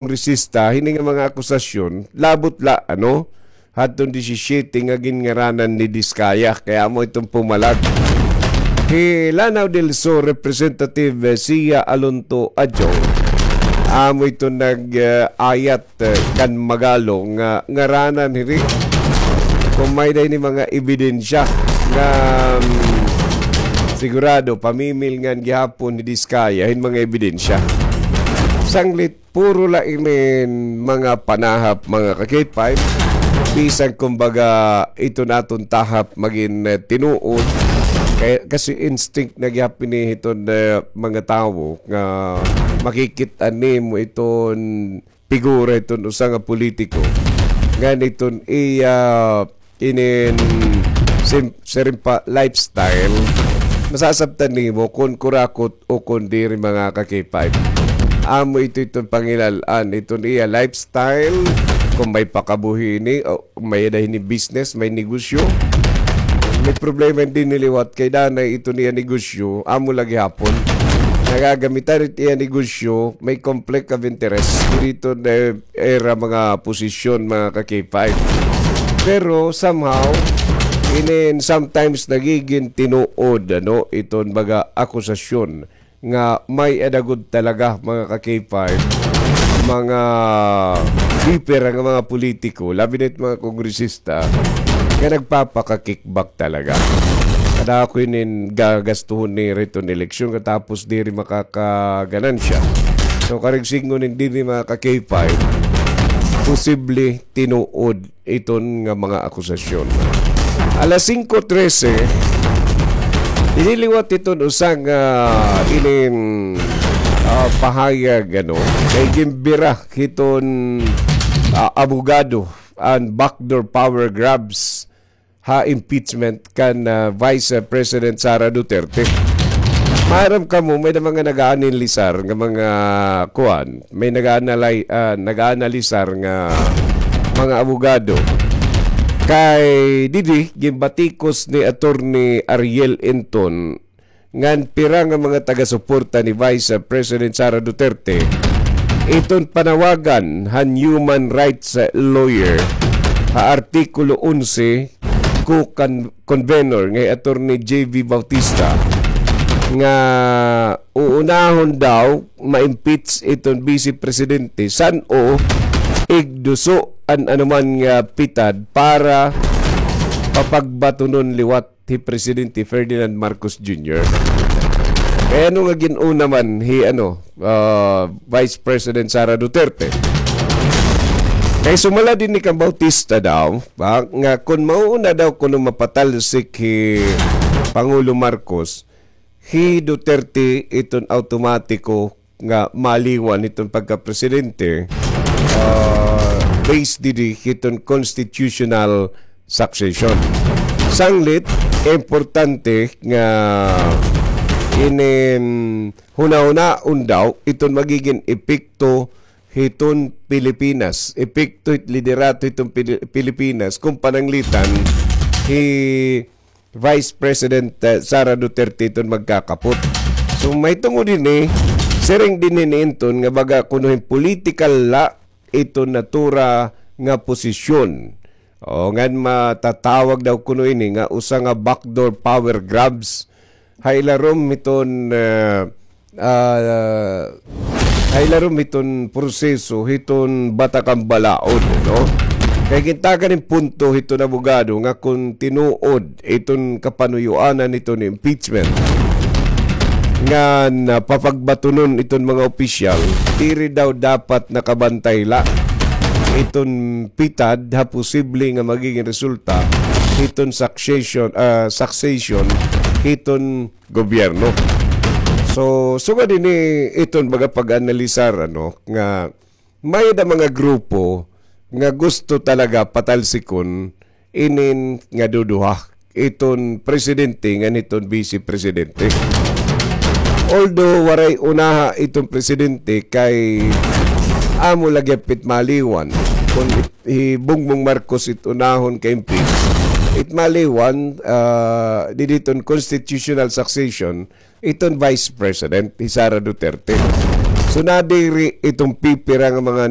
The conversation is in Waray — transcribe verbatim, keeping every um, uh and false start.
kongresista, hini nga mga akusasyon, labot la, ano, hadton disisyete nga ginngaranan ni Discaya, kay amo iton pumalag. Hi Lanao del Sur Representative, eh, Sia Alonto Adjong, amo iton nag, eh, ayat, eh, kan Magalong nga ngaranan hini. Kon may-ada hini mga ebidensya nga, mm, sigurado, pamimilngan gihapon ni Discaya hin mga ebidensya. Sanglit, puro la inin mga panahap, mga ka-K five. Bisan kumbaga iton aton tahap magin, eh, tinuod. Kay, kasi instinct na gihap ini hiton, eh, mga tawo nga makikit-an nimo iton figura hiton usa nga politiko. Ngan iton iya inin sim-, siring pa lifestyle, masasabtan nimo kon kurakot o kon diri, mga ka-K five. Amo ito iton pangilal-an, iton iya lifestyle, kon may pakabuhi ini, o may-ada hini business, may negosyo. May problema dinhi liwat kay danay iton iya negosyo, amo la gihapon. Nagagamitan it iya negosyo, may conflict of interest. Dito na era mga posisyon, mga ka-K five. Pero somehow, inin sometimes nagigin tinuod, ano, iton mga akusasyon nga may-ada gud talaga, mga ka-K five, mga biper nga mga politiko, labi na it mga kongresista, nga nagpapaka-kickback talaga. Kadako inin gagastuhon nira iton eleksyon, katapos diri makakaganansya. So, karigsingon inin diri, mga ka-K five, posible tinuod iton nga mga akusasyon. Alas singko trese, dinhi liwat iton usa nga inin, ah, pahayag, ano, kay ginbira hiton, ah, abogado an backdoor power grabs ha impeachment kan, ah, Vice President Sara Duterte. Maaram kamo, may-ada mga nag-aanalisar nga mga kuan, may nag-aanalay-, ah, nag-aanalisar nga mga abogado. Kay didi, ginbatikos ni Attorney Ariel Enton ngan pira nga mga taga-suporta ni Vice President Sara Duterte iton panawagan han human rights lawyer ha Artikulo onse co-convenor nga hi Attorney J V Bautista nga uunahon daw ma-impeach iton Vice Presidente san-o igduso an anuman nga pitad para papagbatunon liwat hi Presidente Ferdinand Marcos Junior. Kay ano nga gin-una man hi, ano, ah, Vice President Sara Duterte? Kay sumala dinhi kan Bautista daw, ba, nga kon mauuna daw kuno mapatalsik hi Pangulo Marcos, hi Duterte iton awtomatiko nga maliwan hiton pagkapresidente, ah, based didi hiton constitutional succession. Sanglit, importante nga inin hunahunaon daw iton magigin epekto hiton Pilipinas, epekto hit liderato hiton Pili-, Pilipinas kon pananglitan hi Vice President, eh, Sara Duterte iton magkakapot. So, mahitungod hini, siring dinhi ni Enton nga baga kuno hin political la iton natura nga posisyon. O, ngan matatawag daw kuno ini nga usa nga backdoor power grabs ha ilarom hiton, eh, ah, ha ilarom hiton proseso hiton Batakan Balaod, no? Kay gintagan hin punto hiton abogado nga kon tinuod iton kapanuyoanan hiton impeachment nga napapagbatunon iton mga opisyal, diri daw dapat nakabantay la iton pitad ha posible nga magigin resulta hiton succession, ah, succession hiton gobyerno. So, sugad ini iton baga pag-analisar, ano, nga may-ada mga grupo nga gusto talaga patalsikon inin nga duduha, iton presidente ngan hiton vice presidente. Although waray unaha iton presidente kay amo la gihap it maliwan kon it, hi Bongbong Marcos it unahon ka-impeach, it maliwan, ah, didi hiton constitutional succession iton Vice President, hi Sara Duterte. So, nadiri itong pipira nga mga